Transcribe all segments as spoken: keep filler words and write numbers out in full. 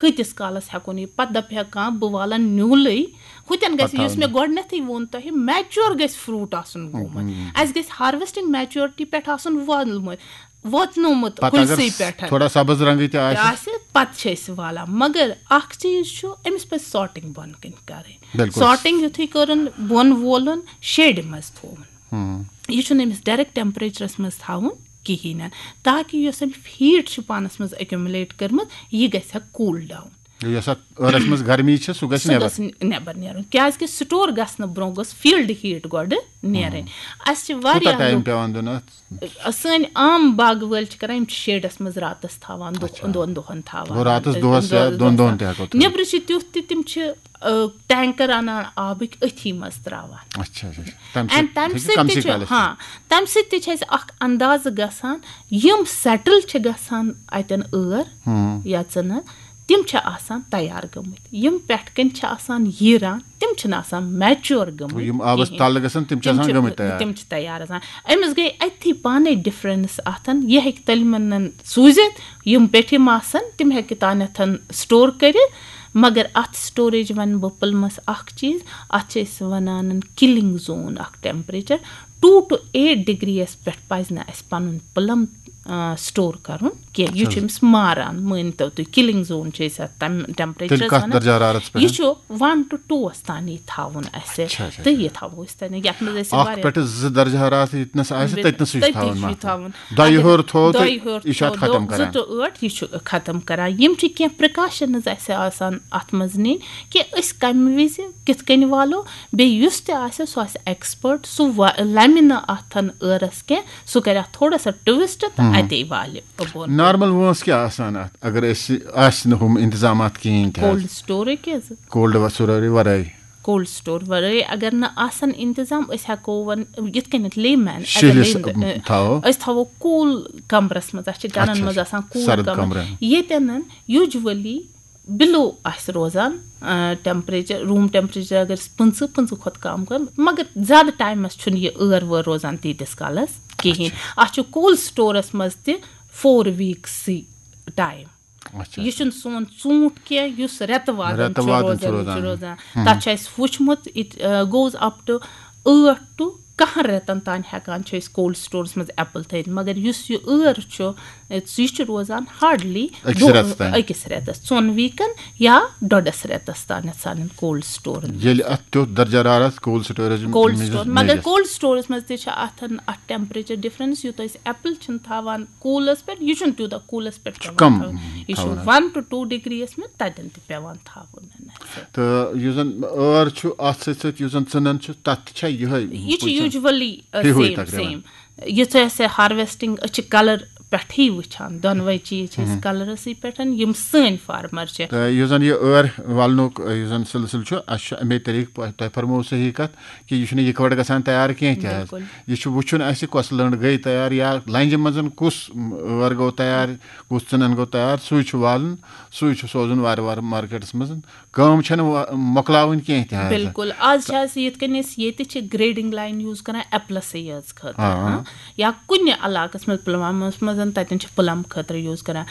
کۭتِس کالَس ہٮ۪کو نہٕ یہِ؟ پَتہٕ دَپہِ ہا کانٛہہ، بہٕ والَن نیوٗلٕے۔ ہُتٮ۪ن گژھِ، پَتہٕ یُس تھاوَن۔ مےٚ گۄڈٕنٮ۪تھٕے ووٚن تۄہہِ، میچور گژھِ فروٗٹ آسُن گوٚمُت۔ اَسہِ گژھِ ہارویسٹنگ میچورٹی پٮ۪ٹھ آسُن وولمُت، ووتنومُت پَتہٕ اگر کُلسٕے پٮ۪ٹھ۔ تھوڑا سبٕز رنٛگٕے تہِ آسہِ۔ آسہِ، پَتہٕ چھِ أسۍ والان۔ مگر اَکھ چیٖز چھُ، أمِس پَزِ سارٹنگ بۄن کَنہِ کَرٕنۍ۔ بِلکُل۔ سارٹنگ یُتھُے کٔرٕن، بۄن وولُن، شیڈِ منٛز تھووُن۔ یہِ چھُنہٕ أمِس ڈایریکٹ ٹیمپریچرَس منٛز تھاوُن کِہیٖنۍ نہٕ، تاکہِ یۄس أمۍ ہیٖٹ چھِ پانَس منٛز ایکومولیٹ کٔرمٕژ، یہِ گژھِ ہا کوٗل ڈاوُن۔ یۄس اَتھ ٲرَس منٛز گرمی چھِ، سُہ گژھِ سُہ نٮ۪بر۔ گژھِ نٮ۪بر نیرُن، کیازِ کہِ سٹور گژھنہٕ برونٛہہ گٔژھ فیلڈ ہیٖٹ گۄڈٕ نیرٕنۍ۔ اَسہِ چھِ کوٗتاہ واریاہ ٹایم لُکھ، پٮ۪وان دیُن اَتھ؟ سٲنۍ عام باغہٕ وٲلۍ چھِ کران، یِم چھِ شیڈَس منٛز راتَس تھاوان، دۄہ-، اچھا۔ دۄن دۄہَن تھاوان۔ گوٚو راتَس دۄہَس یا دۄن دۄہَن تہِ ہٮ۪کو تھٲوِتھ۔ نیٚبرٕ چھِ تیُتھ تہِ، تِم چھِ، آ، ٹینکر اَنان آبٕکۍ، أتھی منٛز ترٛاوان۔ اچھا، اچھا۔ تَمہِ And سۭتۍ تَمہِ ہیٚکہِ سۭتۍ تہِ کَمسٕے چھُ، کالَس ہاں، تَمہِ سۭتۍ تہِ چھِ اَسہِ اَکھ اندازٕ گژھان، یِم سیٹل چھِ گژھان اَتٮ۪ن ٲر ہُم۔ یا ژٕنَن، تِم چھِ آسان تیار گٔمٕتۍ۔ یِم پٮ۪ٹھ کَنۍ چھِ آسان ییٖران، تِم چھِنہٕ آسان میچور گٔمٕتۍ یِم آبَس کِہیٖنۍ۔ تَل گژھن، تِم چھِ تِم آسان چھِ، گٔمٕتۍ تیار۔ تِم چھِ تیار آسان۔ أمِس گٔے أتھی پانَے ڈِفرَنٕس اَتھَن۔ یہِ ہیٚکہِ تٔلمَن سوٗزِتھ، یِم پیٚٹھِم آسَن، تِم ہیٚکہِ تانٮ۪تھ سٹور کٔرِتھ۔ مگر اَتھ سٹوریج وَنہٕ بہٕ پٕلمَس اَکھ چیٖز، اَتھ چھِ أسۍ وَنان کِلِنٛگ زون اَکھ temperature. Two to eight degree یَس پٮ۪ٹھ پَزِ نہٕ اَسہِ پَنُن پٕلَم، آ، سٹور کَرُن کینٛہہ۔ یہِ چھُ اچھا۔ أمِس ماران، مٲنۍ تو تُہۍ، کِلِنٛگ زون چھِ أسۍ اَتھ تَمہِ ٹیمپریچرَس تیٚلہِ کَتھ وَنان۔ درجہ حرارتس پٮ۪ٹھ؟ یہِ چھُ one to two وَس تانی تھاوُن اَسہِ۔ اچھا، اچھا، تہٕ اچھا۔ یہِ تھاوو أسۍ تَتہِ، یَتھ منٛز أسۍ اَکھ واریاہ پٮ۪ٹھٕ زٕ درجہ حرارت ییٚتہِ نَس آسہِ، تٔتۍ نَسٕے چھُ تٔتی تھاوُن چھُ یہِ مَکان۔ تھاوُن۔ دۄیہِ اگر ہیوٚر تھوٚو تہٕ دۄیہِ ہیوٚر یہِ چھُ اَتھ تھوٚو، ختم دۄ-، کران۔ زٕ to ٲٹھ، یہِ چھُ ختم کران۔ یِم چھِ کینٛہہ پرٛکاشنٕز اَسہِ آسان اَتھ منٛز نِنۍ کہِ أسۍ کَمہِ وِزِ کِتھ کٔنۍ والو، بیٚیہِ یُس تہِ آسہِ، سُہ آسہِ ایکسپٲرٹ، سُہ وا-، لَمہِ نہٕ اَتھن ٲرَس کینٛہہ، سُہ کَرِ اَتھ تھوڑا سا ٹُوِسٹ تہٕ ہُم۔ اَتے والہِ بۄن۔ نارمل وٲنٛس کیٛاہ آسان اَتھ، اگر اَسہِ آسہِ نہٕ ہُم اِنتظامات کِہیٖنۍ تہِ حظ؟ کولڈ سٹورٕکۍ حظ؟ کولڈ سٹورٕ ورٲے۔ کولڈ سٹور ورٲے اگر نہٕ آسن انتظام، أسۍ ہٮ۪کو وَن-، یِتھ کٔنٮ۪تھ لے مین، شِہلِس، اگر لے-، تھاوو۔ أسۍ تھاوو کوٗل کمرس منٛز، اَسہِ چھِ گرن اچھا، منٛز اچھا۔ آسان کوٗل سرد کمرٕ۔ کمرٕ۔ ییٚتٮ۪ن یوٗجولی بِلو آسہِ روزان، آ، ٹیمپریچر، روٗم ٹیمپریچر اگر أسۍ پٕنٛژٕہ، پٕنٛژٕہ کھۄتہٕ کم کَرُن، مگر زیادٕ ٹایمس چھُنہٕ یہِ ٲر وٲر روزان تیٖتِس کالس کِہیٖنۍ۔ اچھا۔ اَتھ چھُ کولڈ سٹورس منٛز تہِ فور ویٖکسٕے ٹایم۔ اچھا۔ یہِ چھُنہٕ سون ژوٗنٛٹھ کینٛہہ یُس رٮ۪تہٕ وادن رٮ۪تہٕ چھُ وادن چھُ روزان، یہِ چھُ روزان۔ روزان۔ ہُم۔ تَتھ چھُ اَسہِ وٕچھمُت، it goes up to ٲٹھ to کَہَن رٮ۪تَن تام ہٮ۪کان چھِ أسۍ کولڈ سٹورَس منٛز ایپل تھٲوِتھ، مگر یُس یہِ ٲر چھُ، یہِ چھُ روزان ہارڈلی أکِس رٮ۪تَس تام۔ أکِس رٮ۪تَس، ژۄن ویٖکَن یا ڈۄڈَس رٮ۪تَس تامَتھ سانٮ۪ن کولڈ سٹورَن منٛز۔ ییٚلہِ اَتھ تیُتھ درجہ حرارت کولڈ سٹوریج کولڈ منٛز سٹور، مگر میجَس۔ کولڈ سٹورَس منٛز تہِ چھِ اَتھَن، اَتھ ٹیمپریچر ڈِفرَنٕس، یوٗتاہ أسۍ ایپل چھِنہٕ تھاوان کوٗلَس پٮ۪ٹھ، یہِ چھُنہٕ تیوٗتاہ کوٗلَس پٮ۪ٹھ چھُ پٮ۪وان کم تھاوُن۔ یہِ چھُ تھاوُن۔ One to two degree یَس منٛز تَتٮ۪ن تہِ پٮ۪وان تھاوُن اَسہِ۔ تہٕ یُس زَن ٲر چھُ، اَتھ سۭتۍ سۭتۍ یُس زَن ژٕنَن چھُ، تَتھ تہِ چھا یِہوٚے یہِ چھُ پُلچَن؟ Usually، uh، ہیوٗ ہٕے same، تقریباً۔ Same۔ یُتھُے اَسہِ ہارویسٹنگ، أسۍ چھِ کلر پٮ۪ٹھٕے وٕچھان، دۄنوَے چیٖز چھِ أسۍ ہُم۔ کلرَسٕے پٮ۪ٹھ، یِم سٲنۍ فارمر چھِ۔ تہٕ یُس زَن یہِ ٲر والنُک، یُس زَن سلسلہٕ چھُ، اَسہِ چھُ اَمے طریٖقہٕ پٲ-، تۄہہِ فرموو صحیح کَتھ کہِ یہِ چھُنہٕ یِکوَٹہٕ گژھان تیار کینٛہہ تہِ حظ۔ بِلکُل۔ یہِ چھُ وٕچھُن اَسہِ کۄس لٔنٛڈ گٔے تیار یا لنٛجہِ منٛز کُس ٲر گوٚو تیار، کُس ژٕنَن گوٚو تیار، سُے چھُ والُن، سُے چھُ سوزُن وارٕ وارٕ مارکیٹَس منٛز۔ کٲم چھَنہٕ وا-، مۄکلاوٕنۍ کینٛہہ تہِ حظ۔ بِلکُل۔ آز چھِ اَسہِ یِتھ کٔنۍ أسۍ ییٚتہِ چھِ گریڈنگ لائن یوٗز کران ایپلَسٕے یٲژ خٲطرٕ، آ، آ۔ ہاں؟ یا کُنہِ علاقَس منٛز، پُلوامَس منٛز، تَتٮ۪ن چھِ پٕلم خٲطرٕ یوٗز کران۔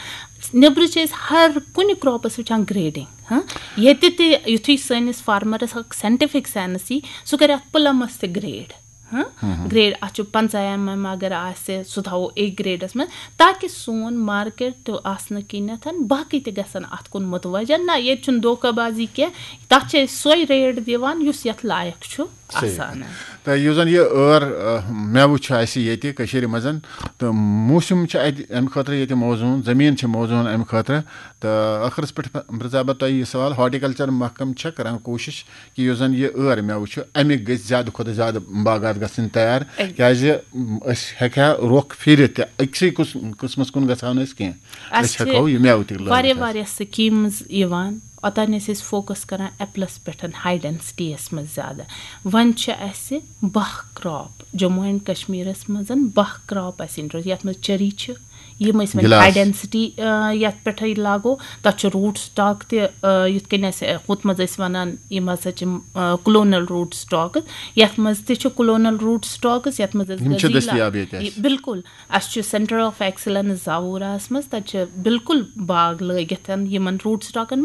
نیٚبرٕ چھِ أسۍ ہر کُنہِ کراپَس وٕچھان گریڈنگ، ہاں؟ ییٚتہِ تہِ یُتھُے سٲنِس فارمرَس اکھ ساینٹیفک سینس یی، سُہ کرِ اَتھ پٕلمَس تہِ گریڈ۔ ہاں؟ ہم، ہم۔ گریڈ، اَتھ چھُ پنٛژاہ ایم ایم اگر آسہِ، سُہ تھاوو اے گریڈَس منٛز، تاکہِ سون مارکیٹ تہِ آسنہٕ کِنٮ۪تھ باقٕے تہِ گژھن اَتھ کُن متوجہ۔ نہ، ییٚتہِ چھُنہٕ دھوکہ بازی کینٛہہ، تَتھ چھِ أسۍ سۄے ریٹ دِوان یُس یَتھ لایق چھُ صحیح۔ آسان۔ تہٕ یُس زَن یہِ ٲر، آ، مٮ۪وٕ چھُ اَسہِ ییٚتہِ کٔشیٖرِ منٛز، تہٕ موسم چھُ اَتہِ اَمہِ خٲطرٕ ییٚتہِ موزوٗن، زٔمیٖن چھِ موزوٗن اَمہِ خٲطرٕ۔ تہٕ ٲخرَس پٮ۪ٹھ پرٛژھا بہٕ تۄہہِ یہِ سوال، ہارٹیکلچر محکمہٕ چھا کران کوٗشِش کہِ یُس زَن یہِ ٲر مٮ۪وٕ چھُ، اَمِکۍ گٔژھۍ زیادٕ کھۄتہٕ زیادٕ باغات گژھٕنۍ تیار، اَمہِ کیازِ أسۍ ہٮ۪کہِ ہا رۄخ پھیٖرِتھ تہِ، أکسٕے قٕس-، قٕسمَس کُن گژھو نہٕ أسۍ کینٛہہ۔ اَسہِ أسۍ چھِ ہٮ۪کو یہِ مٮ۪وٕ تہِ لٲگِتھ واریاہ، حظ۔ واریاہ سکیٖمٕز یِوان، اوٚتانۍ ٲسۍ أسۍ فوکس کران ایپلَس پٮ۪ٹھ، ہاے ڈینسٹی یَس منٛز زیادٕ۔ وۄنۍ چھِ اَسہِ باہ کراپ، جموں اینڈ کشمیٖرَس منٛز باہ کراپ اَسہِ انٹروڈیوس، یَتھ منٛز چیری چھِ، یِم أسۍ وۄنۍ گِلاس۔ آیڈینسٹی یَتھ پٮ۪ٹھٕے لاگو، تَتھ چھُ روٗٹ سٹاک تہِ، آ، یِتھ کٔنۍ اَسہِ ہُتھ منٛز ٲسۍ وَنان، یِم ہسا چھِ کلونل روٗٹ سٹاکٕز، یَتھ منٛز تہِ چھُ کلونل روٗٹ سٹاکٕز، یَتھ منٛز أسۍ یِم چھِ غزیٖلا-، دٔستیاب ییٚتہِ اَسہِ۔ یہِ، بِلکُل، اَسہِ چھُ سینٹر آف ایکسلنس زاووراہَس منٛز، تَتہِ چھِ بِلکُل باغ لٲگِتھ یِمن روٗٹ سٹاکن منٛز۔